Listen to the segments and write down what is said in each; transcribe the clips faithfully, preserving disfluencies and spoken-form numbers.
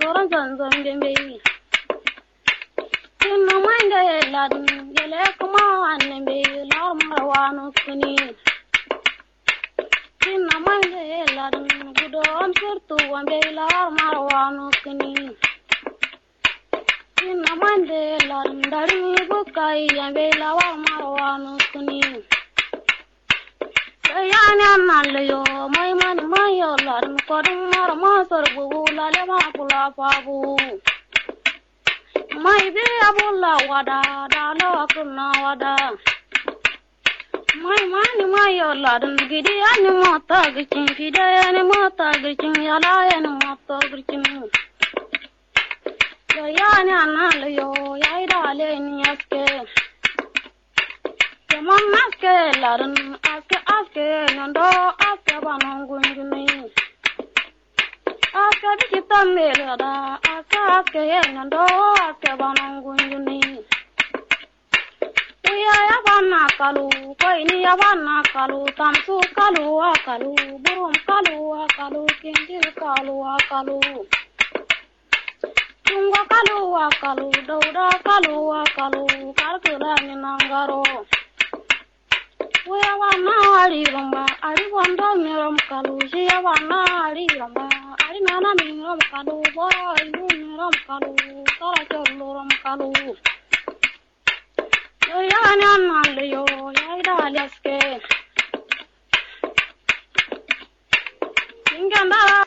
Koron zanzan bembeyi. Kinno mande ladin gele kuma anne mbeyi lar marwanu kuni. Kinno mande ladin gudo am surtu wambeyi lar marwanu kuni. Kinno mande ladin darin bukai yambeyi lar marwanu kuni. Yayani annan leyo mai mani mayo ladin kodin mara masar bubu lale ma kula fabu. Mai bi abulla wada da lawa kunna wada. Mai mani mayo ladin gidi ani mata gicin fide ani mata gicin yala ani mata gicin. Yayani annan leyo yayi da leni aske. Yaman aske ladin aske aske nyondo aske banon gunjuni. Aske biki tambe lada aske aske nyondo aske banon gunjuni. Uya yabanna kalu koyni yabanna kalu tamsu kalu akalu burum kalu akalu kinjil kalu akalu. Tungo kalu akalu dauda kalu akalu karkila ni nangaro. Uya banna ari romba ari bondo mirom kalu siya banna ari romba ari nana mirom kalu boro inu mirom kalu tara chollu rom kalu. Yo yani annan leyo yayi da leske. Ingenda.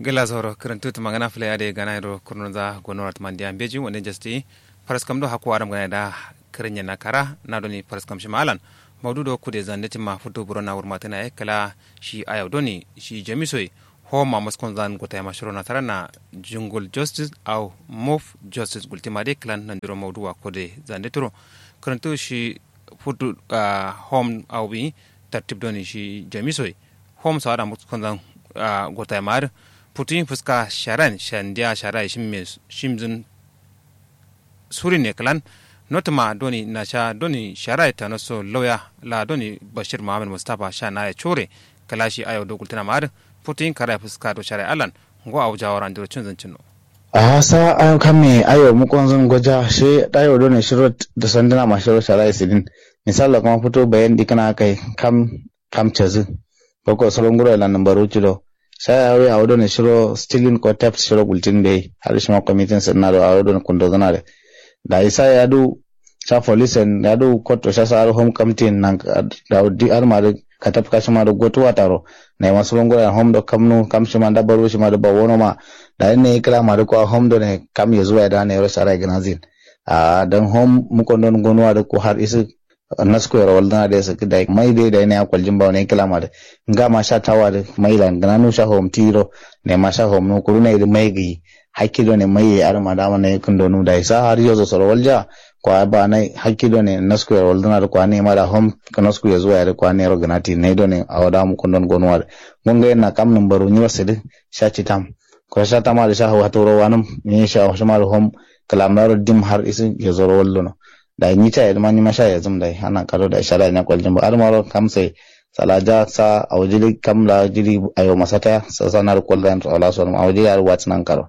Gela zoro kǝrǝntǝ tǝmangana fǝle adǝ gana yero kurnonza gonora tǝmandiya mbeji wande jasti. Faraskam do hakku adam gana da kǝrǝnye na kara na doni faraskam shima alan. Maudu do kude zande timma futu burona wurmatǝna ye kǝla shi ayau doni shi jamiso ye. Homa muskon zan gotayama shiro nasarana jungul justice au mof justice gultima de kǝlan nandiro maudu wa kude zande turo. Kǝrǝntǝ shi futu home au bi tartib doni shi jamiso ye. Hom sawada muskon zan gotayama adǝ putuyin fuska sharan shandiya shara ye shimzǝn. Surin ye kǝlan notǝma doni nasha doni shara ye tanoso lauya la doni bashir muhammad mustapha sha naye cure. Kǝla shi ayau do gultǝnama adǝ putuyin kara ye fuska do shara ye allan ngo awo jawara andiro cinzǝn cinno. Aha sa ayau kamme ayau mukonzǝn goja shi ayau doni shiro dǝsandǝnama shiro shara ye sidin. Misalla kuma futu bayan dikǝna akai kam kam cazǝ. Boko soro nguro ye lanǝmbaru cido. Sha yawi awo done shiro stilin ko tep shiro gultin beyi har shima komitin sǝdǝna do awo done kundozǝna de. Dayi sa yadu sha police en yadu kotto sha sa har hom kamtin nan dawo di har ma dǝ katap kashima dǝ gotu wataro. Naima soro nguro ye hom do kamnu kam shima nda baru shima dǝ bawonoma. Dayi nayi kǝlama dǝ kwa hom done kam yezuwa ye da nayiro shara ye gǝnazin. Ahh dan hom mukondon gonuwa dǝ ko har isǝ. Nasko yero waldǝna dai sǝkkǝ dai mai dai dai nai akoljin bawo nai kǝlama dǝ. Ngama sha tawa dǝ mai lan gǝnanu sha hom tiro. Naima sha hom nu kuru nai dǝ mai gǝyi. Hakki done mai ye adǝma dama nai kǝndonu dai sa har yozo soro walja. Kwa ba nai hakki done nasko yero waldǝna dǝ kwa naima da hom. Nasko yezuwa ye dǝ kwa nairo gǝnati nai done awo dama kǝndon gonuwa dǝ. Ngo ngai na kam nǝmbaru nyiro sǝdǝ. Sha citam. Kura sha tama dǝ sha hau haturo wanǝm nyi sha shima dǝ hom. Kǝlamdaro dim har isǝ yezoro wallono. Dai nyi ca yedǝma nyima sha yezǝm dai anan kado dai sha dai nya koljin ba adǝmaro kamsai. Salaja sa awo jili kam la jili ayo masataya sasa naru koldan sola sonum awo jili aru watǝ nan karo.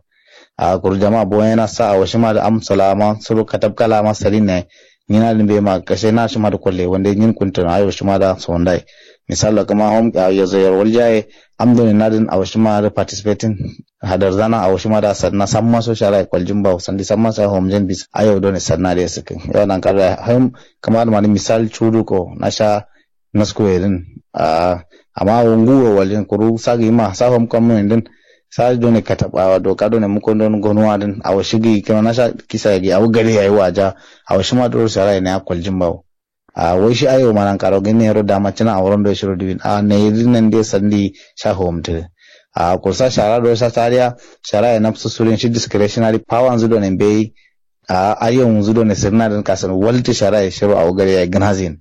Ahh kuru jama boyena sa awo shima dǝ am salama suro katab kalama salin nayi. Nyina dǝ mbeyi ma kashe na shima dǝ kolle wande nyin kuntǝno ayo shima da sondai. Misallo kǝma hom awo yezo yero waljaye. Am done nadǝn awo shima dǝ participating. Hadarzana awo shima da sadna samma so shara ye koljin bawo sandi samma so homjen bis ayo done sadna dǝ ye sǝkkǝ. Yo nan kado da hom kǝma dǝ mani misal cudu ko nasha. Nasku ye dǝn. Ahh amma awo nguwuro waljin kuru sa gǝyima sa hom kamnu ye dǝn. Sa done katab awo doka done mukondon gonuwa dǝn awo shi gǝyi kǝma nasha kisa ye gǝyi awo gade yayi waja. Awo shima duro shara ye naya koljin bawo. Ahh wai shi ayo ma nan karo gǝnne yero dama cǝna aworon do shiro diwin ahh nayi dǝ nande sandi. Sha hom tǝ. Ahh kursa shara do sha tariya. Shara ye nafsu surin shi discretionary power nzǝ done mbeyi. Ahh ayo nzǝ done sǝrina dǝn kasǝn waltǝ shara ye shiro awo gade yayi gǝnazin.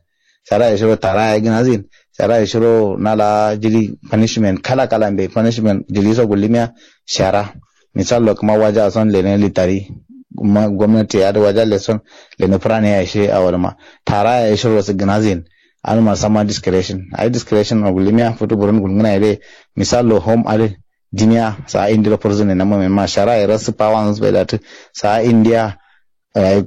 Shara ye shiro tara yayi gǝnazin. Shara ye shiro nala jili punishment kala kala mbeyi punishment jili so gullimiya. Shara. Misallo kǝma waja son lene litari. Gomnati ye adǝ waja leson. Lene furane yayi shi awo dǝma. Tara yayi shiro sǝ gǝnazin. Adǝma samma discretion ayi discretion ma gullimiya futu burun gulngǝna ye dai. Misallo hom adǝ. Dimiya sa'a indiro furzǝne namma men ma shara ye rasǝ pawanzǝ faida tǝ sa'a indiya.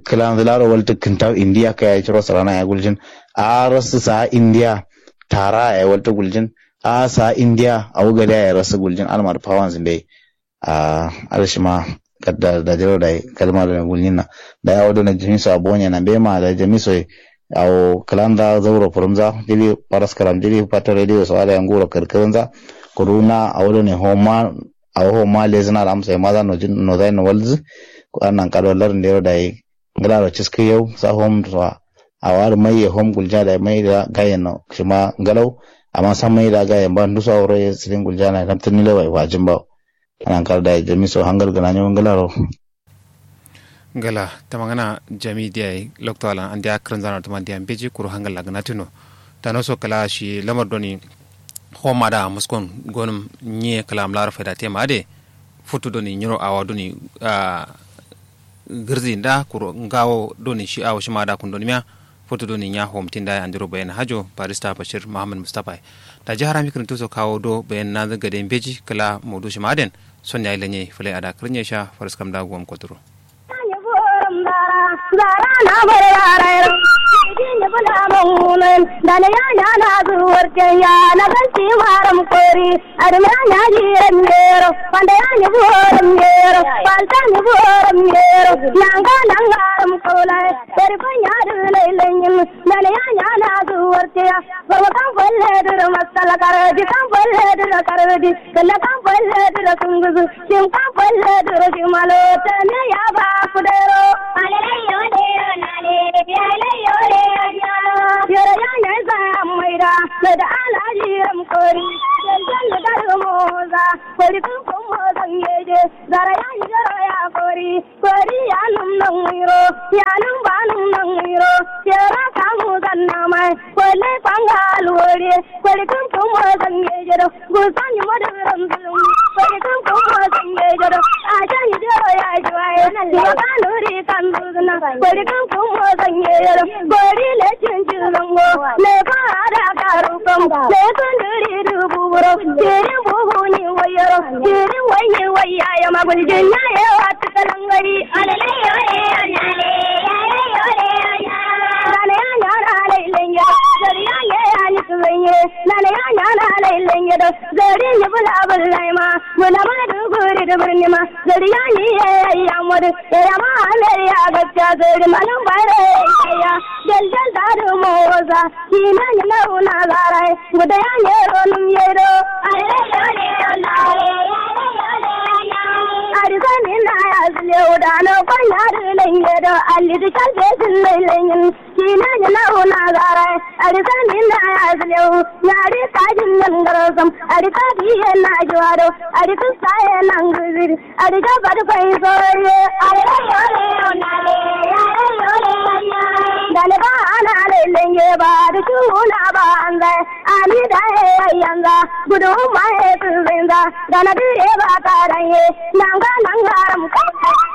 Kǝlanzǝ laro waltǝ kǝntaw indi yakka yayi curo sǝrana yayi guljin. A'a rasǝ sa'a indiya tara yayi waltǝ guljin. A'a sa'a indiya awo gade yayi rasǝ guljin almar pawanzǝ mbeyi. A'a adǝ shima kadda dajiro dayi kalma done guljinna. Dayi awo done jamiso a'a bonyena mbeyi ma dayi jamiso ye. Awo kǝlanza zauro fǝrǝmza jiri faraskaram jiri fato radio so adǝ yayi nguro kǝrkǝrǝnza. Kuru na awo done homa awo homa lezǝna lamsa ye maza nozai nowalzǝ. Annan kado lardǝ ndero dayi ngǝlaro ciskǝ yau sa hom so. Awo adǝ mai ye hom gulja dayi mai da gayen no shima ngalau. Amma san mai da gayen ba nduso awo ro ye sǝdin gulja na ye namtǝ nile wai fajin bawo. Annan kado dayi jamiso hangal gǝnanyo ngǝlaro. Ngla tamangana jami diya ye lokto alan andiya kǝrǝnzana tuma ndiya mbeji kuru hangal la gǝnatǝ no. Tano so kǝla shi lamar doni homa da muskon gonǝm nyi ye kǝla amlaro faida tema adǝ ye. Futu doni nyiro awa doni gǝrzi nda kuru ngawo doni shi awo shima da kundonimiya. Futu doni nya homtin da ye andiro bayen hajo barista bashir muhammad mustapha ye. Daji harami kǝrǝntu so kawo do bayen nanzǝ gade mbeji kǝla modu shima adǝ yen. Son yayi lenye fǝlai ada kǝrǝnye sha faraskam da guwam koturo. Kǝlla kam falle dǝro sungǝzǝ. Shim kam falle dǝro shimalo tane ya ba kudero. Alele yole nale yole yole. Yoro ya nyai sa ammaida. Meda ala jiram kori. Janjan dar moza. Kori kum kum mozan yeje. Zara ya nyoro ya kori. Kori ya num nang iro. Ya num ba num nang iro. Yoro kamu zannamai. Kole panga alwori. Kori kum kum mozan yeje do. Gusani modu ramzulum. Kori kum kum mozan yeje do. Ajani joro ya juwaye. Makanuri kanduzna. Kori kum kum mozan yeje do. Kori le chinchi zango. Le ko ada karu kam. Le kunduri dubu buro. Kiri bubu ni wayoro. Kiri wayi wayaya magul jinya ye watu kalangari. Alele yole anale. Alele yole anale. Dane ya nyana alele ya. Jari ya ye ya ni tuwenye. Nane ya nyana lai lenge do. Gari ni bula bula ma. Bula ma du guri du birni ma. Gari ya ni ye ya modu. Ya ma ame ya gacca gari ma nan bare ya. Jal jal da du mo woza. Kina ni na una zarai. Guda ya ne ro num ye do. Ari sani na ya zile uda no kwanya du lenge do. Ali du kalbe zile lenge. Kina ni na una zarai, ari sani na ya zileu, nyari kajin nan garosam, ari kaji ye na juwado, ari kusa ye nan guziri, ari gaba da kwai soye, ari dane ba ana lai lenge ba, da tuna ba an zai, ani da ye yanza, gudu ma ye tun zai za, dana dire ba karan ye, nanga nanga ram kai,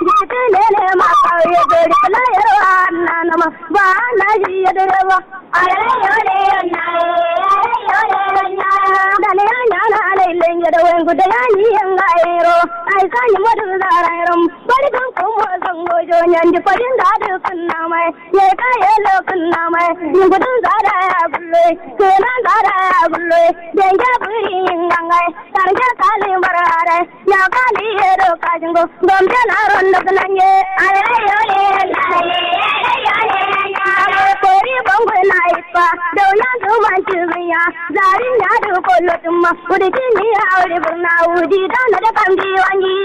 jiti ne ne ma kauye, gari kula yarwa annanama. Ba na ji ya dare ba. Da ne ya nyana lai lenge da wengu da ya ni yanga ero. Ai sa ni modu zara erom. Bari kan kuma zango jo nyandi parin da du kunna mai. Ye ka ye lo kunna mai. Ni gudun zara ya gullo. Kenan zara ya gullo. Denge buri ingangai. Tarja kali barare, ya kali yero kajingo, gombe na rondo gnanye. Kori bongo na ipa, dona du manchi zinya, zari na du kolo tumma, udi kini auri burna udi dona de kambi wangi.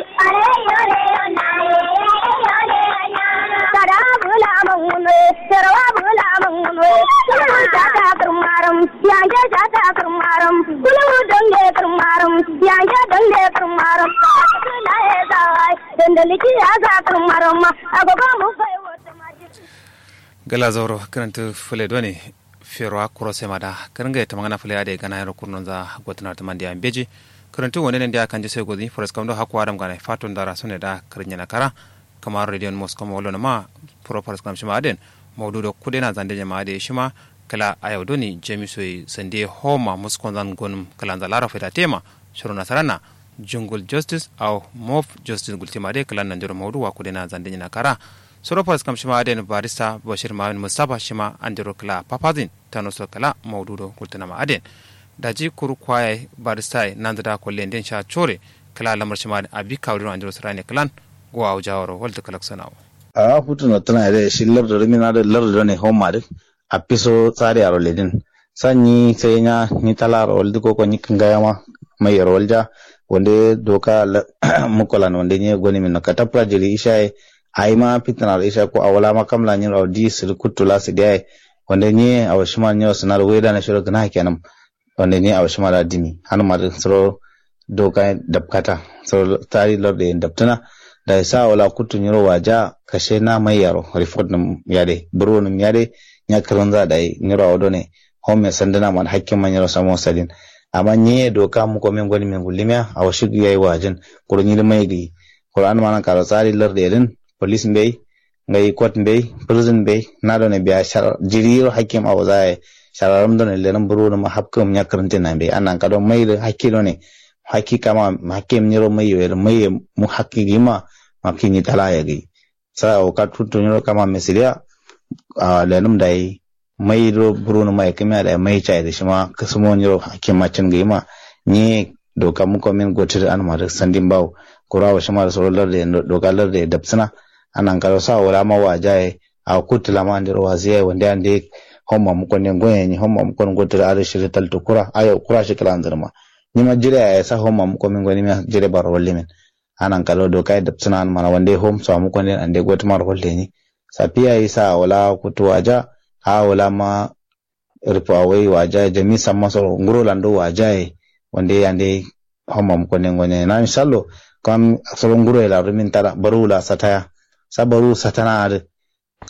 Kada bula mangunwe, terwa bula mangunwe, kulu jata kurmaram. Yanje jata kǝrmaram, kuluwu dange kǝrmaram, yanje dange kǝrmaram. Kǝla ye zawai, dandali ki ya za kǝrmaram ma, agogo mu bai wata ma. Gala zauro kǝrantǝ fǝle done. Ferowa kuro sema da kǝrngaye tamangana fǝle adai gana yero kurnonza gotǝnar tǝmande ya mbeji. Kǝrantǝ wone nande ya kanje sai gozǝ ni faraskam do hakku adam gana fato ndara sone da kǝrnyena kara. Kamaro rediyon moskoma wallonoma. Furo faraskam shima aden maudu do kudena zande nyama ade shima. Kǝla ayau doni jamiso ye sande homa muskonzan gonum kǝlanza laro faida tema. Shiro nasarana. Jungul justice awo mof justice gultima de klan nandiro maudu wa kudena zande nyina kara. Soro faskam shima aden barista bashir mamin mustafa shima andiro kla papazin tanoso kla maudu do gultinama aden. Daji kuru kwaye barista ye nanzida kolle nden sha chore kla lamar shima aden abi kawdiro andiro sirane klan. Go awo jawaro walta kalak sanawo. A futu no tana de shi lardu do mina de lardu do ne homa de. Apiso tsari aro ledin. Sa nyi sai nya nyi talaro waldi koko nyi kingaya ma mai yaro walja. Wande doka mukolan wande nyi goni min katapra jiri ishaye. Aima fitna ro isha ko awala ma kamla nyi ro di sir kutula sidiyaye. Wande nyi awo shima nyi ro sinar weda na shiro gna kenam. Wande nyi awo shima da dimi hanuma de suro doka dabkata. Suro tari lardu ye dabtuna. Dayi sa wala kuttu nyiro waja kashe na mai yaro report num yade buro num yade. Nya kirinza dayi nyiro awo done. Home sanduna man hakkin ma nyiro samo sadin. Amma nyi ye doka muko min goni min gullimiya awo shigi yayi wajin. Kuru nyiri mai gi kuru an manan karo tsari lardu ye din. Police mbei ngai kot mbei prison mbei. Na done biya shar jiriro hakkim awo zaye. Shararam done lenin buro num hakkim nya kirintin na mbei annan kado mai de hakki done. Hakki kama hakki nyiro mai ye mai ye mu hakki gima. Makki nyi tala ye gi sa awo ka tuttu nyiro kama misiliya. A lenum dayi mai do buru numa ye kimiya dayi mai chai de shima kasumo nyiro hakki macin gima. Nyi doka muko min gotir anuma de sandin bawo. Kura awo shima de soro larde doka larde dabsuna. Annan kado sa awo lama wajaye. Awo kuttu lama andiro waziyaye wande ande. Homma muko ne ngoye nyi homma muko ne gotir ade shiri taltu kura ayo kura shi kila anzirma. Nyima jire yaye sa homma muko min goni miya jire baro wallimin. Anan kado doka ye dabsuna an mana wande hom so amu konden ande gotu maro holleni. Safiya isa wala kutu waja. A wala ma rufu awai waja jami samma soro nguro lando waja ye. Wande ande hom amu konden gone na inshallo. Kam soro nguro ye la rumin tara baru la sataya. Sa baru satana ade.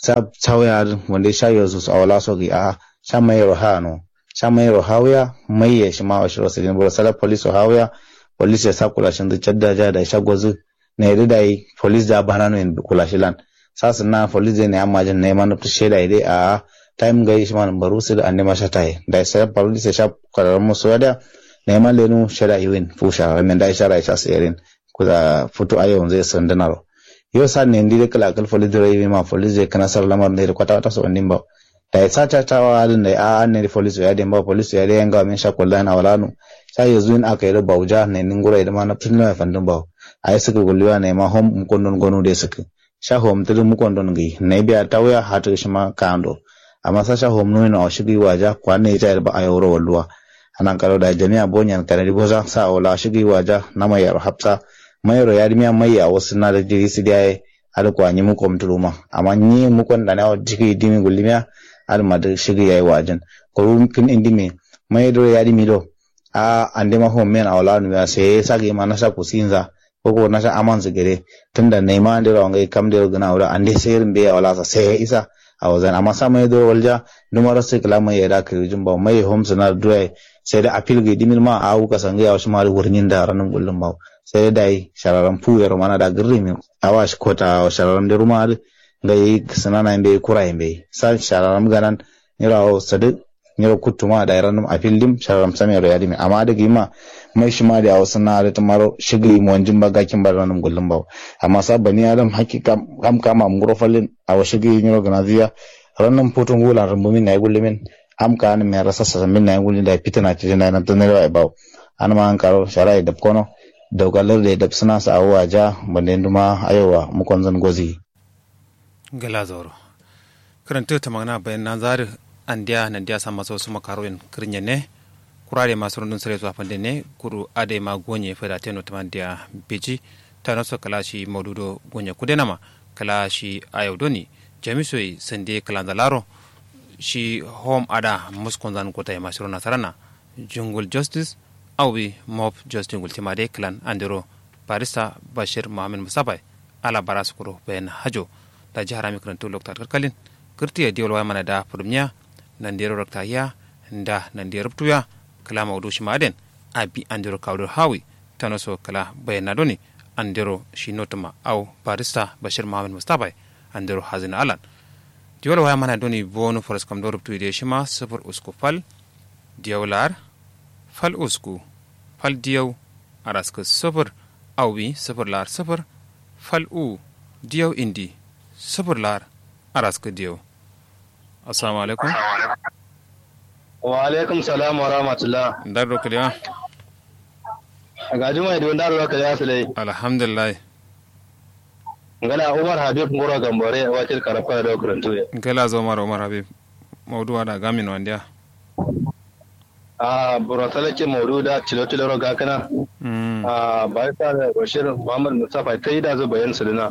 Sa sawya adǝ wande sha yosu awala so gǝyi aha. Sha mayero hano. Sha mayero hawuya. Maiye shima oshiro sǝdin buro sala polis so hawuya. Polis ye sa kulashin dǝ cadda ja dayi sha gozǝ. Nayi dǝ dayi polis da banano yen kulashilan. Sa sǝnna polis de nayi amma jin nayi ma nabtǝ sheda ye de aha. Tayim ngai shima nǝmbaru sǝdǝ andema sha taye dayi sala polis ye sha kwararren musu wadiya. Nayi ma lenu sheda yiwin fu shara ramen dayi sha rayi sha siyerin. Kuza futu ayo nzai sǝndǝnaro. Yo sa nendi de kǝla kǝl folis dǝ ro yimima folis de kǝna sar lamar nde de kwata kwata so wandin bawo. Dayi sa catawa adǝn dayi a'a nde de folis so yadin bawo folis so yadin yanga min sha kollan awalanu. Sha yozuwin aka yi do bawuja nendi nguro yi dǝma nabtǝ nima ye fandin bawo. Ayi sǝkǝ gulluwa nayima hom mukondon gonu de sǝkǝ. Sha hom tǝdǝ mukondon ngai nayi biya tawuya hatǝ shima ka'ando. Amma sa sha hom nuwino awo shigǝ yi waja kwanne yi cayir ba ayo wuro walluwa. Anan kado dayi jami'a bonyan kanadi boza sa awo la shigǝ yi waja. Nama yaro hafsa. Mayero yadimiya mai awo sǝnna dǝ jiri sǝdiya ye. Adǝ kwa nyi muko mutuluma amma nyi mukon dane awo shigǝ yi dimi gullimiya. Adǝ ma dǝ shigǝ yayi wajin. Kuru kǝn indimi mai duro yadimi do. A'a andema hom men awo la numiya sai sagǝ yima nasha kusinza. Koko nasha amanzǝ gade. Tunda naima andero awo ngai kam dero gǝna wuro ande sai rǝmbe awo lasa sai isa. Awo zan amma sa mai duro walja. Nduma rasu kǝla mai ye da kǝrijin bawo mai ye hom sǝna duro yayi. Sai dai apil gǝyi dimin ma awu kasangai awo shima dǝ wurnyin da ranǝm gullum bawo. Sai dai dayi shararam fu yero mana da gǝrrimin. Awa shi kota awo shararam dero ma dǝ. Ngai sǝnana mbeyi kura ye mbeyi sa shararam ganan. Nyiro awo sadǝ. Nyiro kuttuma dayi rannum afil dim shararam samero yadimin amma adǝ gǝyima. Mai shima dǝ awo sǝnna adǝ tǝmaro shigǝ yi monjin ba gakin ba rannum gullum bawo. Amma sa bani adam hakki kam kam am nguro fallin. Awo shigǝ yi nyiro gǝnaziya. Rannum futu ngulan rumbumin nayi gullumin. Am ka anǝm mera sassa sambin nayi gullin dayi fitina cidin dayi nabtǝ nari waye bawo. Anǝma ankaro shara ye dabkono. Dauka larde dabsǝna sa awo waja. Bande nduma ayowa mukonzan gozi. Gala zauro. Kǝrantǝ tamangna bayan nanza adǝ. Andiya nandiya samma so suma karuyen kǝrnyenne. Kura dai ma surundun sǝre so afandenne kuru adai ma gonye faidateno tamandiya. Beji. Tano so kǝla shi maudu do gonye kudenama. Kǝla shi ayau doni. Jami soyi sande kǝlanza laro. Shi hom ada muskonzan gotaye ma shiro nasarana. Jungul justice. Awi mob justice gultima dai kǝlan andero. Barista bashir muhammed mustafa ye. Ala bara sukuro bayan hajo. Daji harami kǝrantǝ lokta kalkalin. Kǝrtǝ ye diwal waya mana da fudumniya. Nandero rakta hiya. Nda nandero rubtuya. Kǝla maudu shima aden. Abi andero kawdo hawi. Tano so kǝla bayan na doni. Andero shi notuma au barista bashir muhammed mustafa ye. Andero hazina alan. Diwal waya mana doni bonu faraskam do rubtu ide shima sufur usku fal. Diyau lar. Fal usku. Fal diyau. araskǝ sǝfǝr, awi sǝfǝr la'ar sǝfǝr, fal uwu, diyau indi, sǝfǝr la'ar, araskǝ diyau. Assalamu alaikum. Wa alaikum salam wa rahmatullah. Ndar do kǝlewa. Gajimai do ndar do kǝlewa sǝlai. Alhamdulillah. Ngala umar habib nguro gambore wakil karafka do kǝrantu ye. Ngala zo umar umar habib. Maudu ada gamin wandiya. A buro salakin maudu da tilo tilo ro gakǝna. A barista da bashir muhammad mustapha ta yi da zu bayan suduna.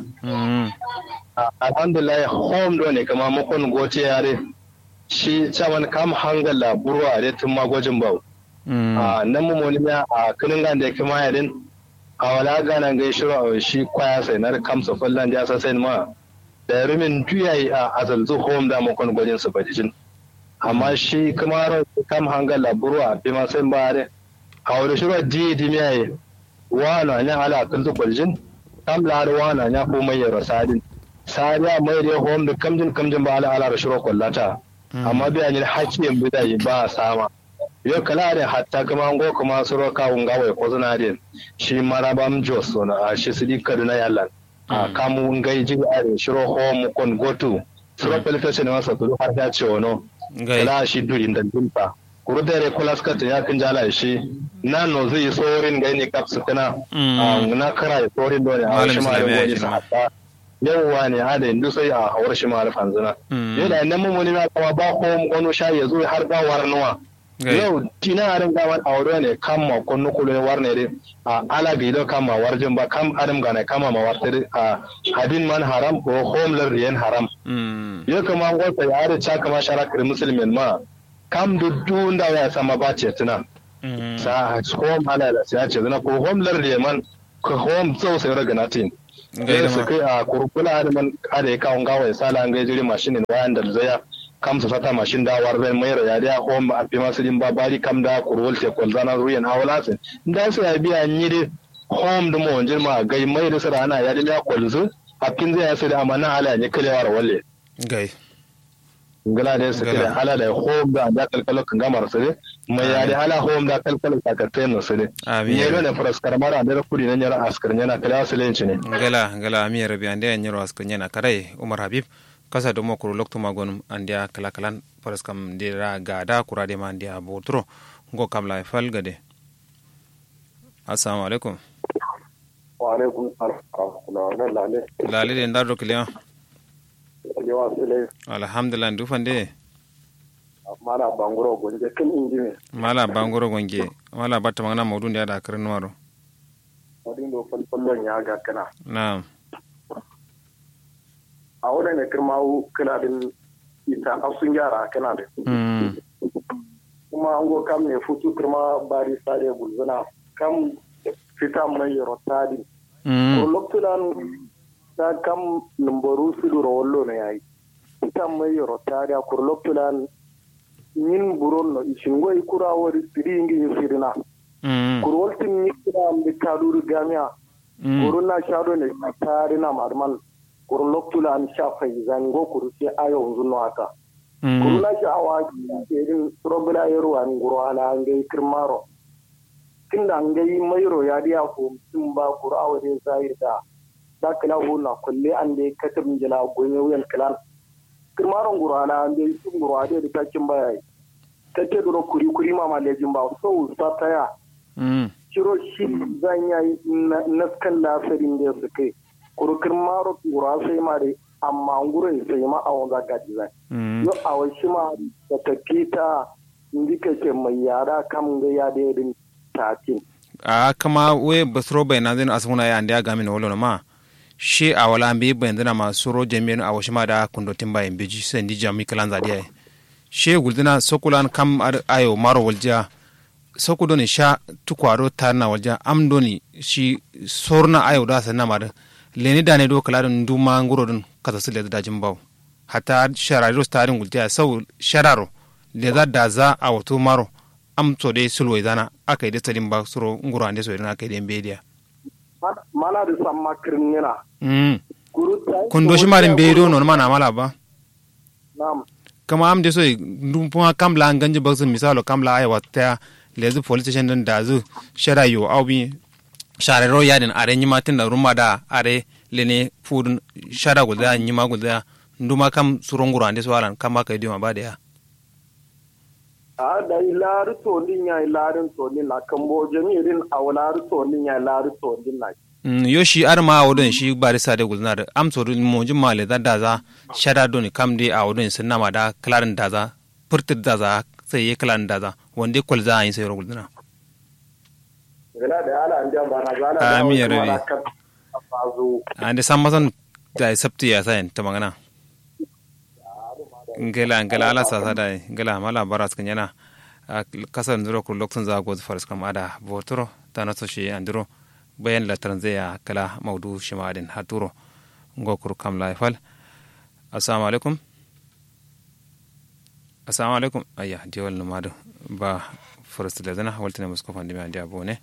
Alhamdulillah, home do ne kama mukon gote yare. Shi caman kam hangal la burwa de tun magojin bau. A nan mu moni miya a kǝnin gande kǝma yadin. A wala gana ngai shiro a shi kwaya sai na da kam so fallan ja sa sai ma. Da rumin duyayi a azalzu home da mukon gojin su bajijin. Amma shi kǝma ro kam hangal la burwa bi ma sai ba de. A wuri shiro di di miya ye. Wano anya ala kǝlzu kwaljin. Kam la da wano anya ko mai yaro sadin. Sadiya mai de home da kamjin kamjin ba ala ala da shiro kwallata. Amma biya nyi hakki yin bidayi ba sama. Yo kala adin hatta kǝma ngo kǝma suro kawu ngawai kozuna adin. Shi marabam jos sona a shi sidi kaduna yallan. A kamu ngai jiri adin shiro home kon gotu. Suro pelfeshe ne masa kudu har ya ce wono. Kala shi duri nda dimpa. Kuru dere kulaska tun ya kǝnjala shi. Na nozu yi sorin ngai ni kap sukuna. Na kara yi sorin dole a wani shi ma rin goni sa hatta. Yauwa ne ada indu sai a hawar shi ma rufanzuna. Yau da nan mummuni ma kama ba home gono sha ya zo har ba warnuwa. Yau tina arin gaman aure ne kamma konnu kulu ne warne de. A ala ga ido kamma warjin ba kam adam gana kamma ma warte de. A abin man haram ko home lar riyan haram. Yau kama ngo sai are cha kama shara kiri musulmin ma. Kam duddu nda waya sama ba ce tuna. Sa home ala la sai ce zuna ko home lar riyan man. Ko home sau sai ragana tin. Ngai su kai a kurkula da man ada ya kawo ngawai sala ngai jiri mashinin wayan da zaya. Kam su sata mashin da war zai mai raya da home a fi masu din ba bari kam da kurwal te kwalzana ruyan awalasin. Nda su ya biya ni de home da mo jirma gai mai da sara ana ya da ya kwalzu. A fin zai ya sai da amana ala ne kalewa rawalle. Ngai. Ngla de sǝkǝ de ala da home da anda kalkalo kǝngamar sǝ de. Mai ya de ala home da kalkalo sakatten no sǝ de. Amin. Ye do ne faraskar mara ande da kudi na nyara askar nyana kala sǝlen cine. Ngla ngla amin ya rabi ande ya nyaro askar nyana karai umar habib. Kasa do mo kuru loktu ma gonum ande ya kala kalan faraskam de ra ga da kura de ma ande ya boturo. Ngo kam la fal ga de. Assalamu alaikum. Wa alaikum salam wa rahmatullah. Lale de ndar do kiliya. Kiliya sile. Alhamdulillah ndu fande. Mala banguro gonje kin indime. Mala banguro gonje. Mala batta mangana maudu nde ada kare nuwaro. Maudu ndo fal fal ya ga kana. Na'am. A wodane kǝrmawu kǝladǝn ita afsu njara kǝnadǝ. Kuma ngo kam ne futu kǝrma bari sade gulzǝna kam fita mai yero tadin. Kuru loktulan ta kam nǝmboru suduro wallo no yayi. Fita mai yero tadi a kuru loktulan nyin buron no ishin ngo ikura wori sidi ingi isirina. Kuru waltin nyi kǝra amdi kaduri gamiya. Kuru na sha do ne tari na marman. Kuru loktu la an sha faizan ngo kuru sai ayo nzunno aka. Kuru na sha awa kerin robula yero an nguro ala ngai kirmaro. Kinda ngai mairo ya diya ko tumba kuru awo de zahir da. Da kila hu na kulle an de katab njila gonye wuyan kilan. Kirmaro nguro ala an de nguro ade de takin bayayi. Takke duro kuri kuri mama lejin ba so usa taya. Shiro shi zan yayi naskan lasarin da su kai. Kuru kirmaro nguro sai ma dai amma nguro sai ma awon za gadi zan. Yo awon shi ma da tafita ndi kake mai yara kam ga ya da yadin tatin. A kama we basuro bai na zai asuna ya ande agami no wolo ma. Shi awala mbeyi bayandǝna ma suro jamiye dǝn awo shima da kundo timba ye mbeji sandi jami kǝlanza diya ye. Shi gulzǝna sokulan kam adǝ ayo maro waljiya. Soku done sha tuku ado tarǝna waljiya am done shi sorna ayo da sanna ma dǝ. Leni dane do kǝla dǝn nduma nguro dǝn kasasǝ lezǝ dajin bawo. Hatta sharari ro stadin gultiya sau shararo leza daza awo tu maro. Am so dai sulwai zana akai dai sadin ba suro nguro ande so dai akai dai mbeyi diya. Mana dǝ samma kǝrǝngǝna. Kuru tayi kundo shima dǝ mbeyi do nonǝma na mala ba. Nam. Kǝma am dǝ soyi ndum puma kam la nganjǝ baksǝ misalo kam la ai wattǝ taya lezǝ police station dǝn dazǝ shada yo au bi. Share ro yadin are nyima tunda rumma da are lene fudun shada gulzaya nyima gulzaya. Nduma kam suro nguro ande so alan kamma kai diyo ma ba da ya. A da ilari tondin ya ilarin tondin na kambo jami'in awo lari tondin ya ilari tondin na. Yo shi adama awo don shi barista de gulzana da amso don monjin ma le za daza. Shada don kam de awo don sun nama da klarin daza. Furtir daza sai ye klarin daza wande kwalza ayin sai ro gulzana. Amin ya rabi. Ande san masan da sabti ya sayin ta magana. Ngela ngela ala sasa da ngela mala bara skin yana. Kasar ndiro kur lokacin za gozu faris kam ada boturo ta naso shi andiro. Bayan lataran zai ya kala maudu shi ma adin haturo. Ngo kur kam laifal. Assalamu alaikum. Assalamu alaikum. Ayya diwal numadu ba. First da zana waltine musko fandimi andiya bone.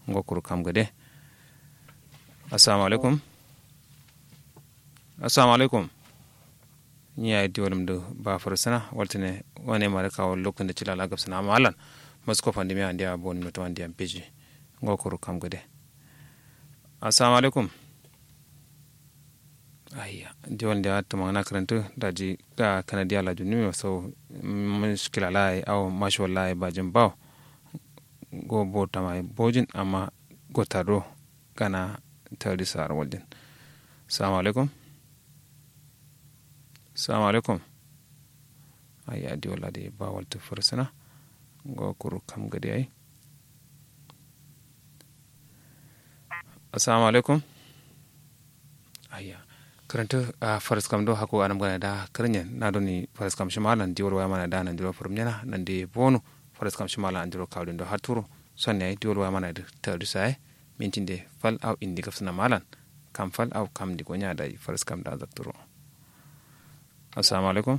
Ngo kuru kam gade. Assalamu alaikum. Assalamu alaikum. Ni yayi diwal mdu ba first na waltine. Wane mare kawo lokacin da cilala gabsana amma allan. Musko fandimi andiya bone mutum andiya beji. Ngo kuru kam gade. Assalamu alaikum. Ayya diwal nde a tumangana kǝrǝntǝ daji. Kanadi alaju nǝmiyo sau. Mushkila laye awo mashuwal laye bajin bawo. Go bo tamaye bojin amma go tado. Gana tadi saro waljin. Salamu alaikum. Salamu alaikum. Ayya diwal adǝ ye ba waltǝ fǝrsǝna. Ngo kuru kam gade yayi. Assalamu alaikum. Ayya. Kǝrǝntǝ faraskam do hakku anam gana da kǝrǝnyen na doni faraskam shima lan diwal waya mana da nandiro fǝrǝmnyena nandi bonu. Faraskam shima lan andiro kawudin do hatturo. Sonne yayi diwal waya mana da tadu saye. Mintin de fal au indi gabsǝna malan. Kam fal au kam ndi gonya dayi faraskam da zakturo. Assalamu alaikum.